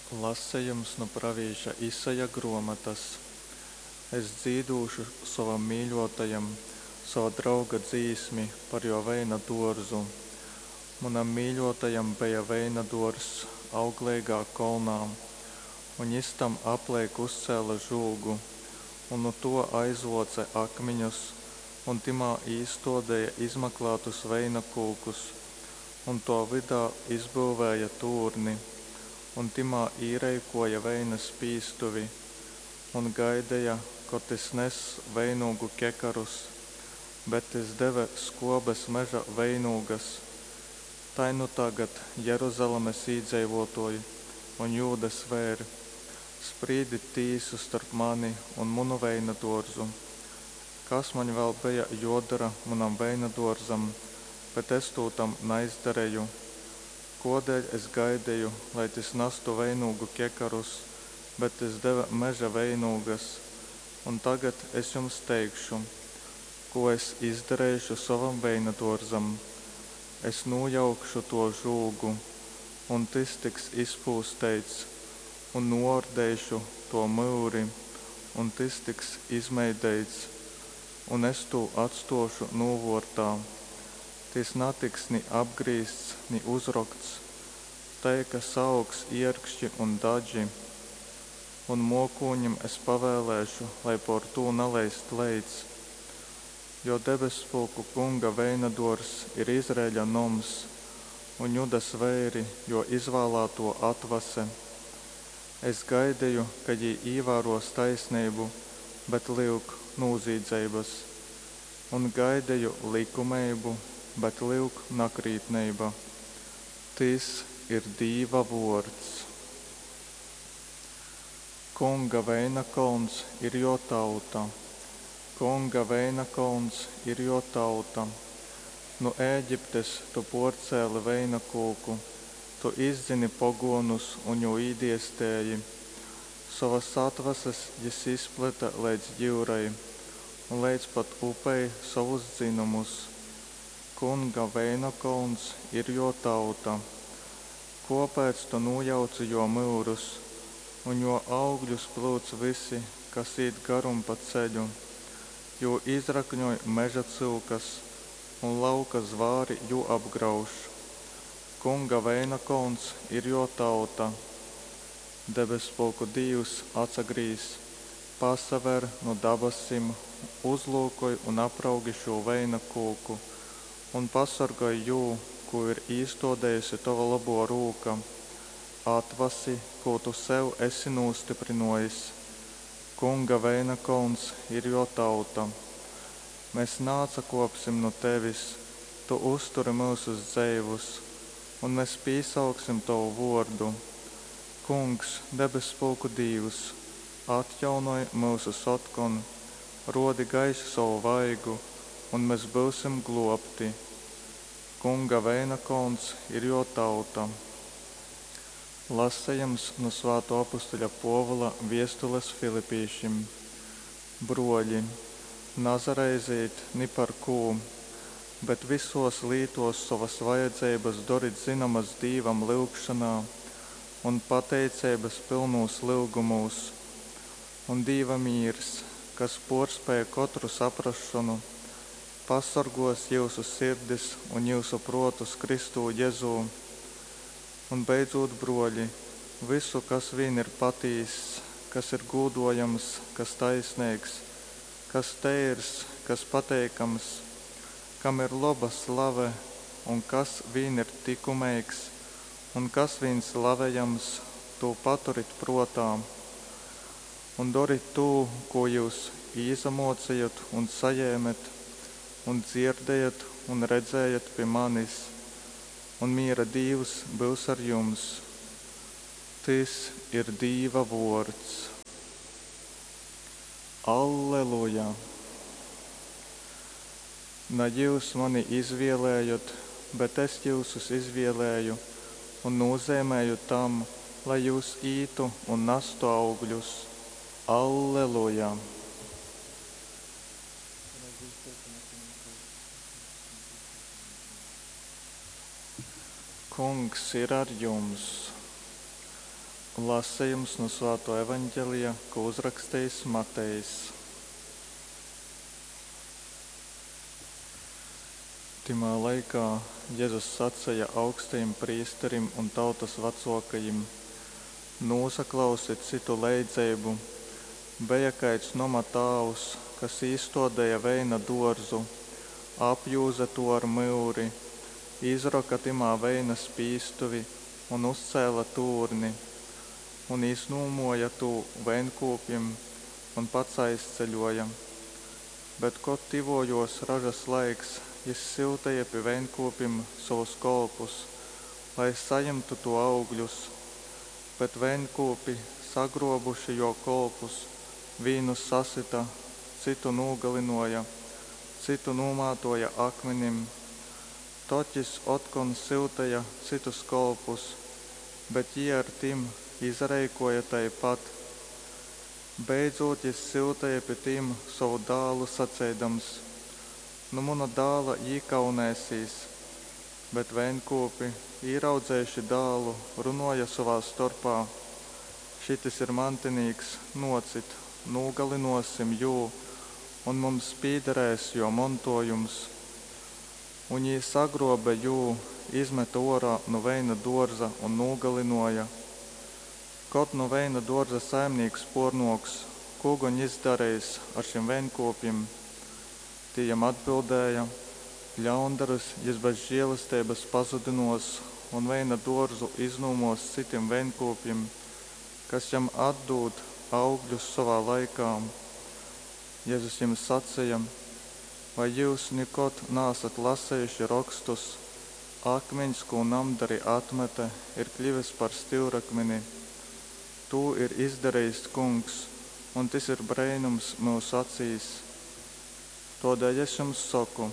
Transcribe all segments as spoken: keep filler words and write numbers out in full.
Lasejums nu pravīša Isaja grōmotas. Es dzīdōšu sovam mīļōtajam sova drauga dzīsmi par jō veina dōrzu. Munam mīļōtajam beja veina dōrzs augleigā kolnā, un jys tam apleik uzcēle žūgu un nu tō aizvōce akmiņus un tymā īstōdeja izmaklātus veinakūkus, un tō vydā izbyuvēja tūrni un tymā īreikōja veina spīstuvi, un gaideja, kod tys ness veinūgu kekarus, bet tys deve skōbes meža veinūgas. Tai nu tagad, Jeruzalemes īdzeivōtōj un Jūdas veir, sprīdit tīsu storp mani un munu veinadōrzu. Kas maņ vēl beja jōdora munam veinadōrzam, bet es tū tam naizdareju? Kōdēļ es gaideju, lai tys nastu veinūgu kekarus, bet tys deve meža veinūgas? Un tagad es jums teikšu, kū es izdareišu sovam veinadōrzam, Es nūjaukšu tō žūgu, un tys tiks izpūsteits, un nūōrdeišu tō myuri, un tys tiks izmeideits. Un es tū atstōšu nūvōrtā. Tys natiks ni apgrīzts, ni uzrokts, tai ka saaugs ierkški un dadži. Un mōkūņim es pavēlēšu, lai pōr tū naleist leits. Jo debesspulku Kunga veinadōrzs ir Izraeļa noms, un Judas veiri jō izvālātō atvase. Es gaideju, ka jī īvārōs taisneibu, bet, lyuk, nūzīdzeibas, un gaideju lykumeibu, bet, lyuk, nakrītneiba. Tys ir Dīva vōrds. Kunga veinakolns ir jō tauta. Kunga veinakolns ir jō tauta. Nu Ēģiptes tu pōrcēli veinakūku, tu izdzyni pogōnus un jū īdiestēji. Sovas atvases jys izplete leidz jyurai un leidz pat upei sovus dzynumus. Kunga veinakolns ir jō tauta. Kōpēc tu nūjauci jō myurus, un jō augļus plyuc vysi, kas īt garum pa ceļu? Jū izrakņoj mežacyukas, un lauka zvāri jū apgrauž. Kunga veinakolns ir jō tauta. Debesspulku Dīvs, atsagrīz, pasaver nu dabasim, uzlyukoj un apraugi šū veina kūku un pasorgoj jū, kū ir īstōdejuse tova lobō rūka, atvasi, kū tu sev esi nūstyprynōjis. Kunga veinakolns ir jō tauta. Mes naatsakōpsim nu tevis, tu uzturi myusus dzeivus, un mes pīsauksim tovu vōrdu. Kungs, debesspulku Dīvs, atjaunoj myusus otkon, rōdi gaiši sovu vaigu, un mes byusim glōbti. Kunga veinakolns ir jō tauta. Lasejums nu svātō apustuļa Pōvula viestules filipīšim. Brōļi, nasaraizejit ni par kū, bet vysōs lītōs sovas vajadzeibas dorit zynomas Dīvam lyugšonā un pateiceibas pylnūs lyugumūs. Un Dīva mīrs, kas pōrspēj kotru saprasšonu, pasorgōs jyusu sirdis un jyusu prōtus Kristū Jezū. Un beidzūt, brōļi, vysu, kas vīn ir patīss, kas ir gūdojams, kas taisneigs, kas teirs, kas pateikams, kam ir loba slave un kas vīn ir tykumeigs un kas vīn slavejams, tū paturit prōtā. Un dorit tū, kū jyus īsamōcejot un sajēmet, un dzierdējot un redzējot pi manis, un mīra Dīvs byus ar jums. Tys ir Dīva vōrds. Alleluja! Na jyus mani izvēlējot, bet es jyusus izvēlēju un nūzeimēju tam, lai jyus ītu un nastu augļus. Alleluja! Kungs ir ar jums! Lasejums nu Svātō Evaņgelija, kū uzrakstejis Matejs. Tymā laikā Jezus saceja augstajim prīsterim un tautas vacōkajim, Nūsaklausit cytu leidzeibu, Beja kaids noma tāvs, kas īstōdeja veina dōrzu, apjūze tū ar myuri, izroka tymā veina spīstuvi un uzcēle tūrni. Un iznūmōja tū veinkūpjim un pats aizceļōja. Bet kod tyvōjōs ražas laiks, jys syuteja pi veinkūpim sovus kolpus, lai sajimtu tō augļus. Bet veinkūpi, sagrōbuši jō kolpus, vīnu sasyta, cytu nūgalynōja, cytu nūmātōja akminim. Tod jys otkon syuteja cytus kolpus, bet jī ar tim izareikōja tai pat. Beidzūt jys syuteja pi tim sovu dālu saceidams, Nu muna dāla jī kaunēsīs. Bet veinkūpi, īraudzejuši dālu, runōja sovā storpā, Šytys ir mantinīks, nōcit, nūgalynōsim jū, un mums pīdarēs jō montōjums. Un jī sagrōbe jū, izmete ōrā nu veina dōrza un nūgalynōja. Kod nu veina dōrza saimnīks pōrnōks, kū gon jys dareis ar šim veinkūpjim? Tī jam atbildēja, Ļaundarus jys bez želesteibas pazudynōs un veina dōrzu iznūmōs cytim veinkūpjim, kas jam atdūd augļus sovā laikā. Jezus jim saceja, Vai jyus nikod naasat lasejuši Rokstus, Akmiņs, kū namdari atmete, ir kļyvis par styurakmini. Tū ir izdarejis Kungs, un tys ir breinums myusu acīs? Tōdēļ es jums soku,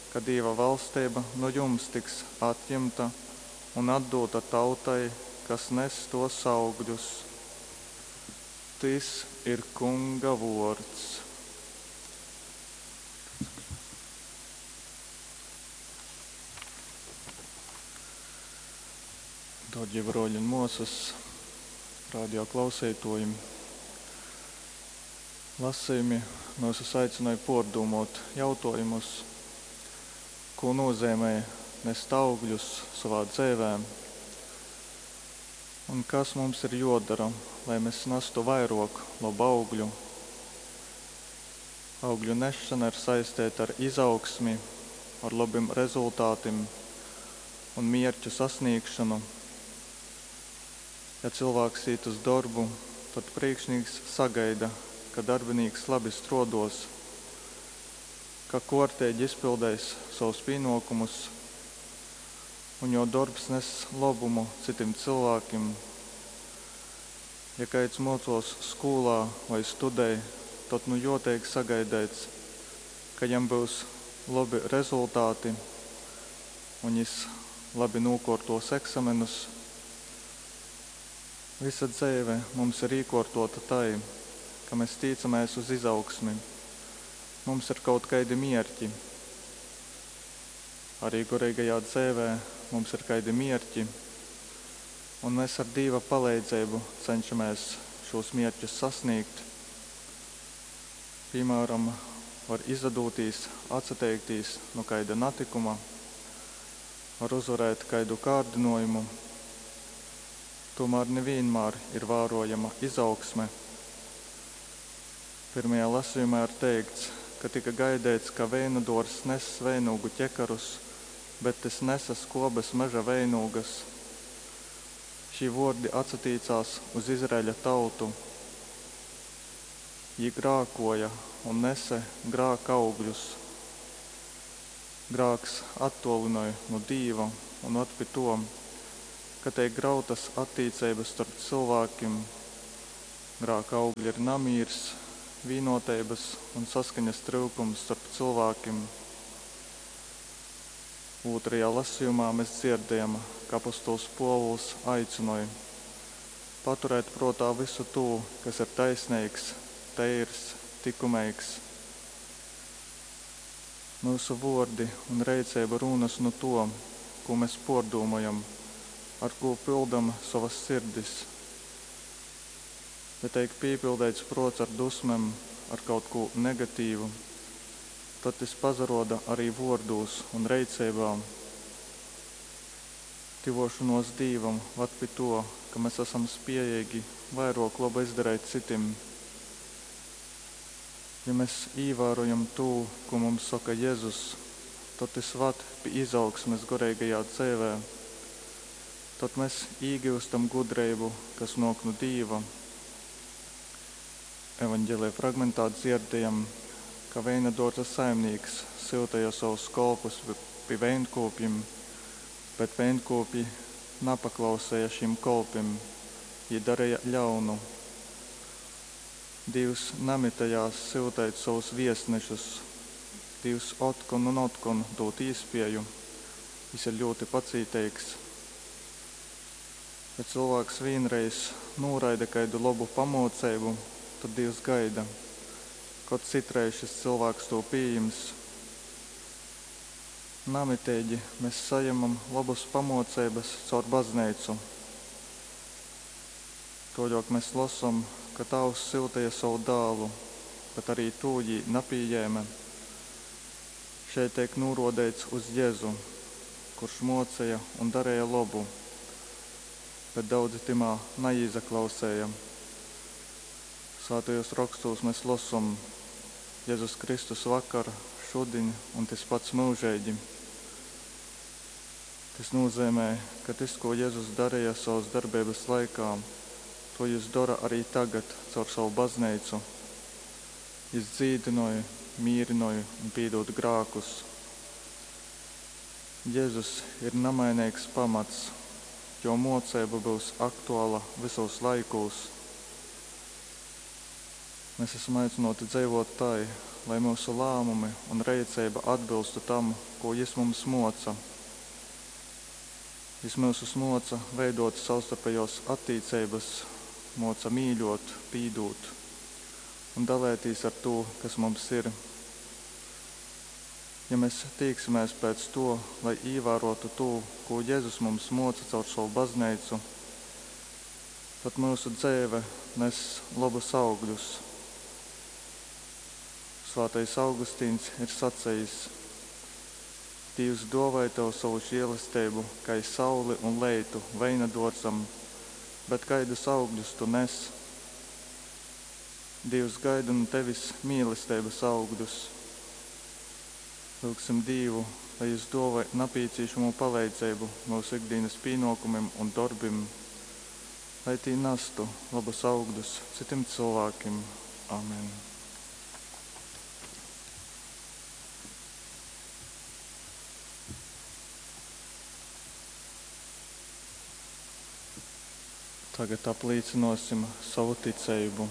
ka Dīva vaļsteiba nu jums tiks atjimta un atdūta tautai, kas ness tōs augļus. Tys ir Kunga vōrds. Dārgie broļi un mosas, radio klauseituoji, lasejumi myusus aicynoj puordūmuot jautuojumus, kū nozīmē nest augļus sovā dzeivē un kas mums ir juodara, lai mes nastu vairuok lobu augļu. Augļu nesšana ir saisteita ar izaugsmi, ar lobim rezultātim un mierķu sasniegšanu. Ja cilvēks īt uz dorbu, tad priekšnieks sagaida, ka darbinīks labi struoduos, ka kuorteigi izpildeis savus pīnuokumus un jo dorbs ness lobumu cytim cilvēkiem. Ja kaids muocuos skolā vai studej, tad nu juo teik sagaideits, ka jam byus lobi rezultāti un jis labi nūkuortuos eksamenus. Visa dzeive mums ir īkuortuota tai, ka mēs tīcamies uz izaugsmi. Mums ir kaut kaidi mierķi. Arī goreigajā dzeivē mums ir kaidi mierķi, un mēs ar Dīva palīdzību cenšamies šos mierķus sasniegt. Piemēram, var izdūtīs atsateikties no kaida natikuma, var uzvarēt kaidu kārdinājumu. Tomēr nevienmēr ir vērojama izaugsme. Pirmajā lasījumā ir teikts, ka tika gaidīts, ka veinadors ness veinūgu ķekarus, bet tys nesa skobes meža veinūgas. Šī vārdi atsatīcās uz Izraēļa tautu. Jī grākoja un nese grāka augļus. Grāks attolinoj no Dīva un ved pi to, ka teik grautas attiecības starp cilvēkiem. Grāka augļi ir namīrs, vienoteibas un saskaņas tryukums starp cilvēkiem. Otrajā lasījumā mēs dzirdējam, ka apostols Pōvuls aicināja paturēt prātā visu to, kas ir taisnīgs, teirs, likumīgs. Mūsu vārdi un reiceiba rūnas no to, ko mēs pārdomājam, ar ko pildam savas sirdis. Ja teik pīpildeits prōts ar dusmem, ar kaut kū negatīvu, tod tys pasarōda ari vōrdūs un reiceibā. Tyvōšonōs Dīvam vad pi tō, ka mes asam spiejeigi vairōk loba izdareit cytim. Ja mes īvārojam tū, kū mums soka Jezus, tod tys vad pi izaugsmes goreigajā dzeivē. Tod mes īgyustam gudreibu, kas nōk nu Dīva. Evaņgelija fragmentā dzierdējam, ka veina dōrza saimnīks syuteja savus kolpus pi veinkūpjim, bet veinkūpji napaklausēja šim kolpim, jī dareja ļaunu. Dīvs namitejās syuteit sovus viestnešus. Dīvs otkon un otkon dūd īspieju. Jis ir ļūti pacīteigs. Ja cylvāks vīnreiz nūraida kaidu lobu pamuoceibu, tod Dīvs gaida, kod cytreiz šis cylvāks tū pījims. Namiteigi mes sajemam lobus pamuoceibys caur bazneicu. Tuoļuok mes losom, ka Tāvs syuteja sovu dālu, bet arī tū jī napījēme. Šeit teik nūruodeits uz Jezu, kurš muoceja un dareja lobu, bet daudzi tymā naīzaklausēja. Svātajos rokstūs mēs losom: Jezus Kristus vakar, šudiņ un tys pats myužeigi. Tys nūzeimē, ka tys, ko Jezus dareja savas darbeibas laikā, to jis dora arī tagad caur savu bazneicu. Jis dzīdynoj, mīrynoj un pīdūd grākus. Jezus ir namaineigs pamats, jō muoceiba byus aktuala vysūs laikūs. Mēs esam aicināti dzeivot tai, lai myusu lāmumi un reiceiba atbilstu tam, ko Jis mums muoca. Jis myusus muoca veidot savstarpejōs attīceibys, muoca mīļuot, pīdūt un dalētīs ar tū, kas mums ir. Ja mēs tīksimēs pēc to, lai īvārotu tū, kū Jezus mums muoca caur sovu bazneicu, tad myusu dzeive ness lobus augļus. Svātais Augustīns ir sacejis: Dīvs duovoj tev sovu žielesteibu kai sauli un leitu veinaduorzam, bet kaidus augļus tu nes? Dīvs gaida nu tevis mīlesteibys augļus. Lyugsim Dīvu, lai Jis duovoj napīcīšamū paleidzeibu myusu ikdīnys pīnuokumim un dorbim, lai tī nastu lobus augļus cytim cylvākim. Amen. Tagad aplīcynuosim sovu ticeibu.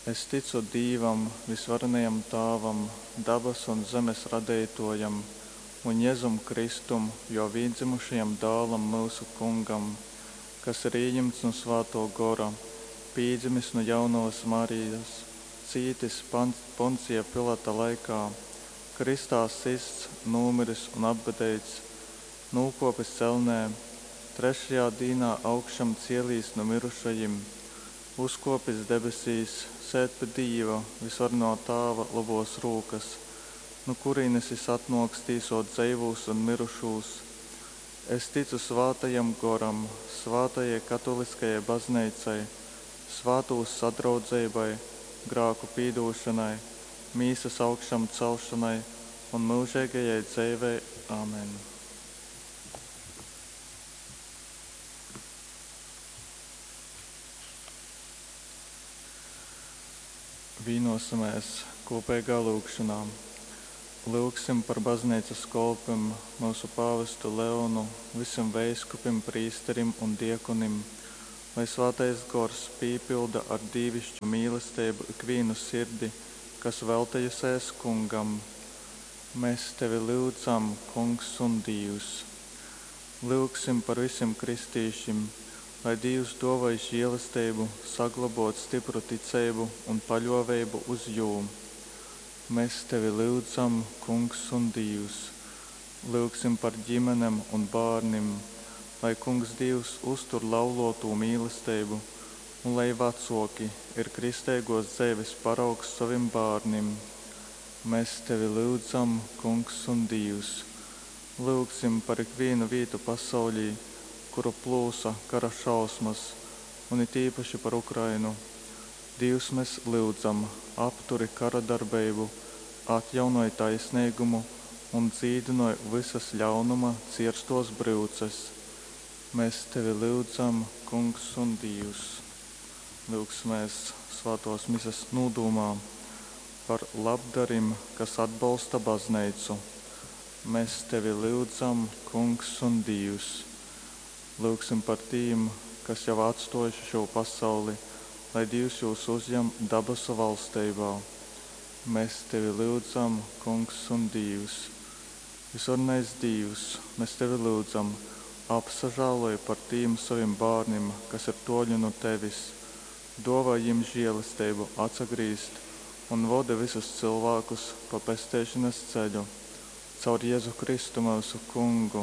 Es ticu Dīvam, Vysvarenajam Tāvam, dabasu un zemes radeituojam, un Jezum Kristum, Juo vīndzymušajam Dālam, myusu Kungam, kas ir ījimts nu Svātuo Gora, pīdzimis nu Jaunovys Marijas, cītis Poncija Pilata laikā, krystā systs, nūmiris un apbedeits, nūkuopis elnē, trešajā dīnā augšamcielīs nu myrušajim, uzkuopis debesīs, sēd pi Dīva, Vysvarenuo Tāva lobuos rūkys, nu kurīnis Jis atnuoks tīsuot dzeivūs un myrušūs. Es ticu Svātajam Goram, svātajai katōliskajai Bazneicai, svātūs sadraudzeibai, grāku pīdūšonai, mīsas augšamceļšonai un myužeigajai dzeivei. Amen. Vīnuosimēs kūpeigā lyugšonā. Lyugsim par bazneicas kolpim, myusu pāvestu Leonu, vysim veiskupim, prīsterim un diekonim, lai Svātais Gors pīpylda ar dīvišķu mīlesteibu ikvīnu sirdi, kas veltejusēs Kungam. Mes tevi lyudzam, Kungs un Dīvs! Lyugsim par vysim kristīšim, lai Dīvs duovoj žielesteibu saglobuot stypru ticeibu un paļuoveibu uz Jū. Mes tevi lyudzam, Kungs un Dīvs! Lyugsim par ģimenem un bārnim, lai Kungs Dīvs uztur lauluotū mīlesteibu un lai vacōki ir kristeigōs dzeives paraugs sovim bārnim. Mes tevi lyudzam, Kungs un Dīvs! Lyugsim par ikvīnu vītu pasauļī, kuru plūsa kara šausmas, un it īpaši par Ukrainu. Dīvs, mes lyudzam, apturi karadarbeibu, atjaunoj taisneigumu un dzīdynoj vysas ļaunuma cierstōs bryuces. Mes tevi lyudzam, Kungs un Dīvs! Lyugsimēs svātōs Mises nūdūmā par labdarim, kas atbolsta Bazneicu. Mes tevi lyudzam, Kungs un Dīvs! Lyugsim par tīm, kas jau atstōjuši šū pasauli, lai Dīvs jūs uzjam dabasu valsteibā. Mes tevi lyudzam, Kungs un Dīvs! Vysvarenais Dīvs, mes tevi lyudzam, apsažāloj par tīm sovim bārnim, kas ir tōļi nu tevis, dōvoj jim želesteibu atsagrīzt un vodi vysus cylvākus pa pesteišonas ceļu. Caur Jezu Kristu myusu Kungu.